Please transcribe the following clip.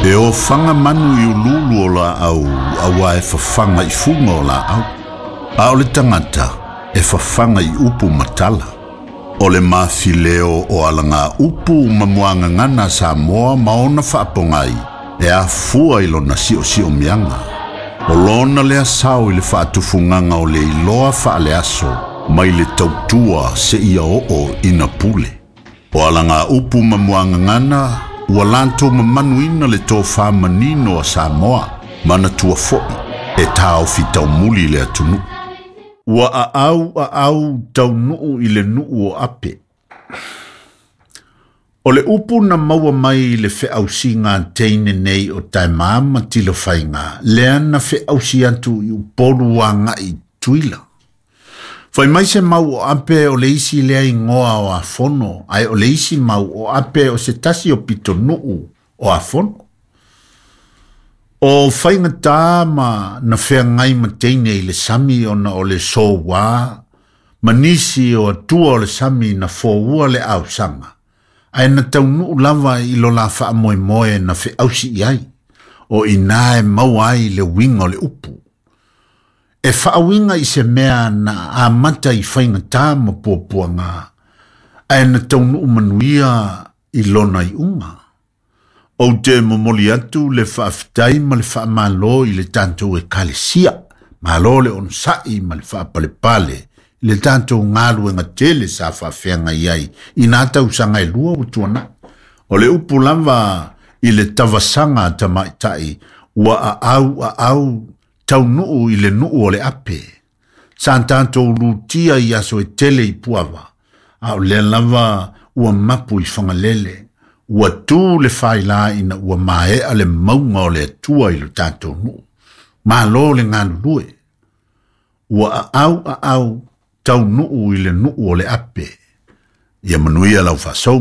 E ofaga manu i uluulu o laau, auā e fafaga i fuga o laau. A o le tagata, e fafaga i upu ma tala. O le mafileo o alagaupu ma muagagana a Samoa ma ona faapogai, e afua i lona siosiomiaga. O lona lea sao i le faatufugaga o le iloa faaleaso mai le tautua seia oo ina pule. O alagaupu ma muagagana ua latou mamanuina le tofa manino a Samoa, manatua foi e taofi taumuli le atunuu. Ua aau aau taunuu i le nuu o Ape. O le upu na maua mai i le feausiga a teine nei o Taema ma Tilofaiga, lea na feausi atu i Upolu agai i Tutuila. Fai mai se mau o Ape o le isi lea igoa o Afono, ae o le isi mau o Ape o se tasi o pitonuu o Afono. O faigata ma na feagai ma teine i le sami ona o le soua ma nisi o atua o le sami na foua le ausaga, ae na taunuu lava i lo la faamoemoe na feausi i ai, o i ina e maua ai le uiga o le upu. E faauiga i se mea na amata i faigata ma puapuaga, ae na taunuu manuia i lona iuga. Ou te momoli atu le faafetai ma le faamalo i le tatou Ekalesia, malo le onosai ma le faapalepale i le tatou galuega tele sa faafeagai ai i nā tausaga e lua ua tuanai. O le upu lava i le tavasaga a tamaitai ua aau aau taunuu i le nuu o le ape. Sa tatou lutia i aso e tele i Puava, a o lea lava ua mapu i Fagalele. Ua tu le faila ina ua maea le mauga o le Atua i lo tatou nuu. Malo le galulue. Ua aau aau taunuu i le nuu o le ape. Ia manuia lau faasouga.